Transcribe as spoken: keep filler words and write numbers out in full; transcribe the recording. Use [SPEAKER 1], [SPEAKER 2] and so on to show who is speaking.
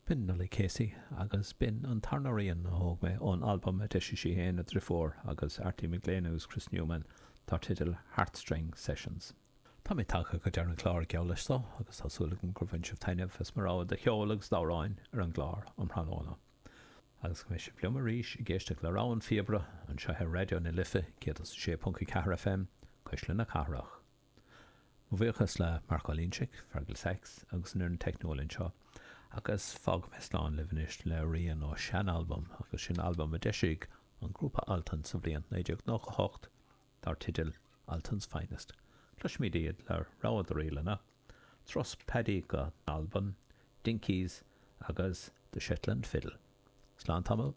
[SPEAKER 1] B'in Nollaig Casey agus b'in an tarna rian a thóg mé ón albam a d'eisigh sí féin, a driofúr agus Arty McGlynn agus Chris Newman dar teideal Heartstring Sessions. Tá mé tagtha go deireadh an chláir geall leis so agus tá súil agam gur bhain sibh taitneamh as mo rogha de cheol agus d'amhráin ar an gclár um thráthnóna. Agus go mbeidh sibh liom arís ag éisteacht le Rogha an Phíobaire anseo ar Raidió na Life céad is a sé ponc a ceathair FM, Cuisle na Cathrach. Mo bhuíochas le Mark Ó Loingsigh, Fergal Sachs agus an fhoireann teicniúil anseo, agus fágfaidh mé slán libh anois le rian ó sean-albam agus sin albam a d'eisigh an grúpa Altan sa bhliain naoi déag nócha hocht dar teideal Altan's Finest. Cloisfimid iad le rogha de ríleanna, Turas Paddy go Albain, Dinkies agus The Shetland Fiddle. Slán tamall.